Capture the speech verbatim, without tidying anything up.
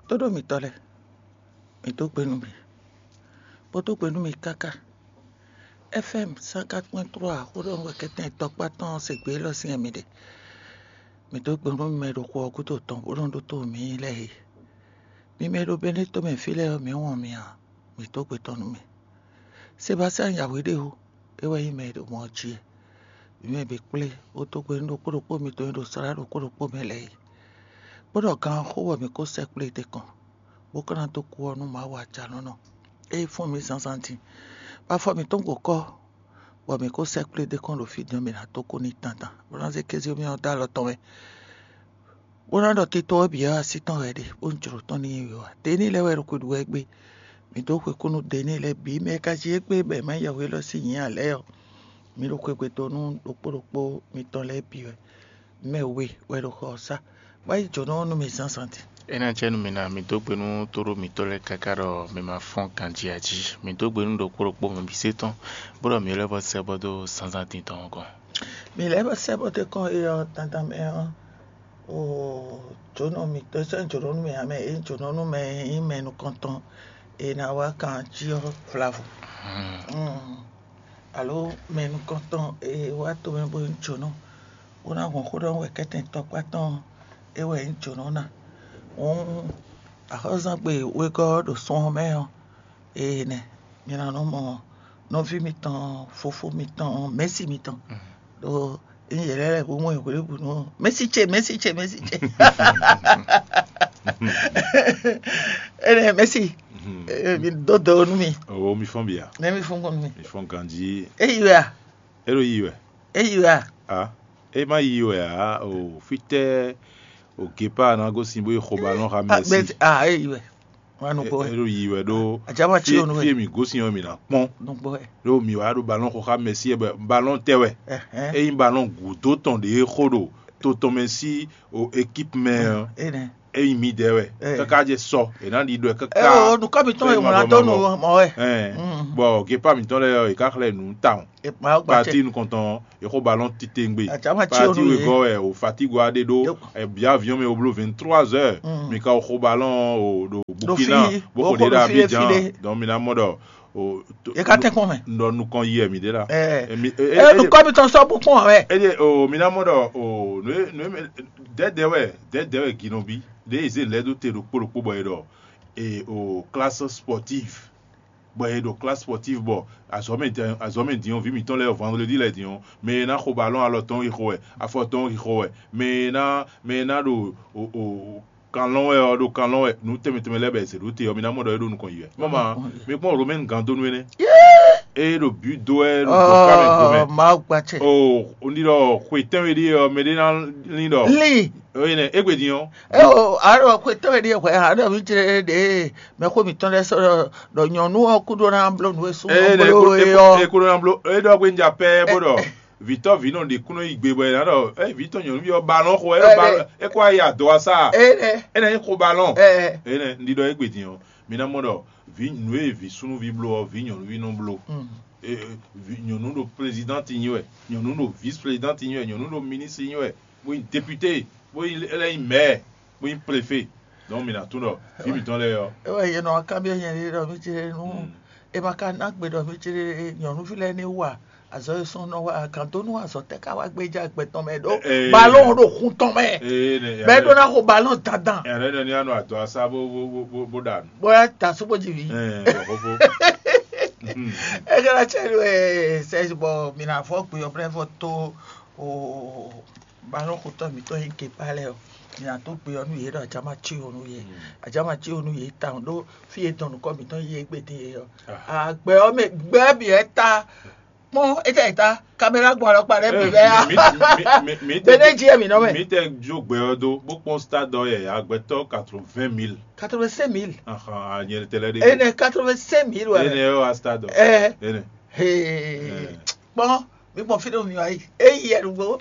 Tóɖó mitɔ́ lɛ́ɛ, mǐ dó gbe nú mi, bó dó gbe nú mi káká. F M cent quatre point trois xó ɖɔ nú wɛ kɛ́tɛn tɔkpá tɔn se gbé élɔ́ sín mi ɖe. Mǐ dó gbe nú mi mɛ e ɖo xo ɔ́ gúdo tɔn bó nɔ́ ɖótó mǐ lɛ́ɛ e. Mi mɛ e ɖo Bɛ́nɛ́ tomɛ fí lɛ́ɛ ɔ́, mǐ wɔn mi ǎ, mǐ dó gbe tɔn nú mi. Sebastiyani Yawéɖeho, é wɛ nyí mɛ e ɖo mɔ ɔ́ jí e. Mǐ mɛ bǐ kplé bó dó gbe nú ɖokpó ɖokpó mitɔn e ɖo slá ɖokpó ɖokpó mɛ lɛ́ɛ é. Bó ɖɔ gan ɔ́ xó bɔ mǐ ko sɛkplé ɖ'é kɔn, bó ka ná dó kú ɔ́ nú Mawu ajalɔ̌nlɔn e fɔ́n mǐ zǎnzǎn din, bɔ afɔ mǐtɔn gbo kɔ́, bɔ mǐ ko sɛkplé ɖ'é kɔn ɖo fí din ɔ́, mǐ ná dó kú n'i dandan, bó ná zé kéze mì ɔ́ dó alɔ tɔn mɛ, bó ná ɖɔ tito ɔ́ bǐ ɔ́ así tɔn wɛ é ɖe, bó nyí jlǒ tɔn n'i wiwa. Deni lɛ́ɛ wɛ ɖo xwe ɖu wɛ gbé. Mǐ dó xwekú nú Deni lɛ́ɛ bǐ, mɛ e ka jí égbé bɔ è ma nyí yɛhweɖɔ sín nyǐ ǎ lɛ́ɛ ɔ́, mǐ ɖo xwegbe dó nú ɖokpó ɖokpó mitɔn lɛ́ɛ bǐ wɛ. Mɛ we wɛ ɖo xɔ ɔ́ sá, bó yi jǒnɔ ɔ́ nú mì zǎnzǎn din. É ná jɛ nú mi ná, mi dó gbe nú tóɖó mitɔ́ lɛ́ɛ káká ɖɔ mi ma fɔ́n ganjí ǎ jí. Mi dó gbe nú ɖokpó ɖokpó mɛ bǐ sé tɔn, bó ɖɔ mǐ lɛ́ bɔ sɛ́ bɔ dó zǎnzǎn din tɔn ɔ́ gɔ́n. Mǐ lɛ́ bɔ sɛ́ bɔ dó kɔn é ɔ́ dandan mɛ ɔ́, o jǒnɔ mitɔ́ sɛ́ jǒnɔ nú mɛ ǎ mɛ, é jǒnɔ nú mɛ e nyí mɛ nukɔntɔn e ná wá kan jí ɔ́ vlavo. Alo mɛ nukɔntɔn e wá tomɛ bó nyí jǒnɔ, bó ná hɔn xó ɖɔ nú wɛ kɛ́tɛn tɔkpá tɔn ɔ́, é wɛ nyí jǒnɔ ná. Hǔn axɔ́zangbe wegɔ́ ɔ́ ɖo sun ɔ́ mɛ ɔ́, ee nɛ mi ná nɔ mɔ nɔví mitɔn, fofó mitɔn, mɛ̌si mitɔn, ɖó ényí yě lɛ́ lɛ́ bó mɔ yě hwelébǔnu ɔ́, mɛ̌si ce, mɛ̌si ce, mɛ̌si ce. Énɛ́ mɛ̌si, mi dó do nú mi. O mi fɔ́n bia. Nɛ́ mi fɔ́n kɔn nú mi. Mi fɔ́n ganjí. É yi wɛ a? É ɖo yi wɛ. É yi wɛ a? A é má yi wɛ ǎ. O fítɛ́ o Gepa ná gosín bó yi xo balɔn xa Mɛsi. A é yi wɛ. Wá nukpó wɛ. É ɖo yi wɛ ɖó. Ajama tí o nu wɛ. Fí e mǐ gosín ɔ́ mǐ ná kpɔ́n. Nukpó wɛ. Ɖó mǐ wá ɖo balɔn xo xa Mɛsi wɛ, balɔn tɛ wɛ. Ényí balɔn gǔdo tɔn ɖě xo ɖo to tɔn mɛ sí o équipe mɛ ɔ́, ényí mǐdɛɛ wɛ káká jɛ sɔ è nǎ ɖi ɖɔ káká. Nukɔ mitɔn e wlán dó nu mɔ wɛ. Bɔ Gepa mitɔn lɛ́ɛ ɔ́, è ká xlɛ́ nǔ tawun. Pati nukɔntɔn ɔ́, è xo balɔn titewungbe. Pati wegɔ́ wɛ o fatigue wa ɖe ɖó. È bǐ avion mɛ o bló vingt-trois heures. Mi ka o xo balɔn o ɖo Burkina bó xo ɖe ɖo Abidjan. Donc mi ná mɔ ɖɔ o. È ká tɛ́nkpɔ́n mɛ. Nɔ nukɔn yi wɛ mi ɖe la. Ɛ nukɔ mitɔn sɔ bó kpɔn wɛ. Eye o mi ná mɔ ɖɔ o nǔ e nǔ e dɛdɛ wɛ dɛdɛ wɛ ginɔbi ɖe e zé lɛ́ ɖó te ɖokpó ɖokpó bɔ è ɖɔ e o classe sportive, bɔ è ɖo classe sportive bɔ azɔ̌mɛ din azɔ̌mɛ din ɔ́, vǐ mǐtɔn lɛ́ɛ vendredi lɛ́ɛ din ɔ́, mɛ e ná xo balɔn alɔ tɔn yi xo wɛ, afɔ tɔn yi xo wɛ, mɛ e ná mɛ e ná ɖo o o kanlɔn wɛ ɔ́ ɖo kanlɔn wɛ, nǔ tɛnmɛ tɛnmɛ lɛ́ɛ bɛ è zě ɖó te ɔ́, mi ná mɔ ɖɔ é ɖo nukɔn yi wɛ. Mama, mi kpɔ́n Romain gán dó nú énɛ́. É ɖo bǐ dó wɛ ɖo gbɔ̌ká mɛ gomɛ. Mawu gbacɛ. O un ɖi ɖɔ xwe tɛnwe ɖíe ɔ́, mɛɖé ná lín ɖɔ. Lin. Énɛ́ égbé din ɔ́. Eo aɖɔ xwe tɛnwe ɖíe hwɛ aɖɔ mi jlɛ ɖe mɛ xó mitɔn lɛ́ɛ sɔ́ ɖɔ nyɔ̌nu ɔ́ kúɖó ná bló nǔ e sú. Énɛ́ é kúɖó ná bló é ɖɔ gbé ń ja pɛ́ bó ɖɔ. Vǐtɔ́ vǐ nɔ ɖe kúnɔ yi gbe bɔ è nǎ ɖɔ ɛ vǐtɔ́ nyɔ̌nuví ɔ́ balɔn xo ɛ ɖo balɔn é kó wá yi adɔ wá sá. Énɛ́. Énɛ́ nyí xo balɔn. Ɛ. Énɛ́ un ɖi ɖɔ égbé din ɔ́, mi ná mɔ ɖɔ vǐ nǔ e vǐ súnnuví bló ɔ́, vǐ nyɔ̌nuví nɔ bló. Nyɔ̌nu ɖo présidente nyi wɛ, nyɔ̌nu ɖo vice présidente nyi wɛ, nyɔ̌nu ɖo ministre nyi wɛ, bó nyí député, bó nyí é lɛ́ nyí maire, bó nyí préfet. Donc mi ná tunwun ɖɔ vǐ mǐtɔn lɛ́ɛ ɔ́. É wɛ yě nɔ wá kanbyɔ́ nyɛ ɖe ɖɔ mí ce nú è ma ka ná gbe ɖɔ mí ce nyɔ̌nuví lɛ́ɛ ní wa azɔ̌ e sɔ́ nɔ wa kan dó nú azɔ̌ tɛ́ ká wá gbéjá gbɛ tɔn mɛ ɖó balɔn ɖo xun tɔn mɛ. Bɛ́ ɖó ná xo balɔn dandan. Ɛnɛ nɔ ní anɔ adɔ asá bó bó bó bó ɖa nǔ. Bóyá ta sóbó jí vi. Ɛ bɔ fófó. Ɛ kɛra cɛ ɖo ɛ sɛ bɔ mi na fɔ gbe ɔblɛ fɔ tó o balɔn xotɔ mitɔn yi ke pa lɛ o. Mi na tó gbe ɔ nú yě ɖɔ ajama cí o nú yě. Ajama cí o nú yě tawun ɖó fí e dɔn nukɔ mitɔn yi égbé din yě ɔ. Agbɛ ɔ mɛ gbɛ bi ɛ ta kpɔn étɛ ta caméra gbɔn alɔkpa ɖe bi bɛ ya. Bene jí ɛ mi nɔ mɛ. Mi tɛ jo gbɛ ɔ do bó kpɔn stade ɔ yɛ agbɛtɔ quatre-vingt mille. Quatre-vingt-cinq mille. Ahan anyɛ tɛ lɛ de. Ene quatre-vingt-cinq mille wɛ. Ene yɛ wa stade ɔ. Ɛ. Ene. Hee. Kpɔn mi kpɔn fi ɖe mi wa yi. Eyi yɛ nugbo.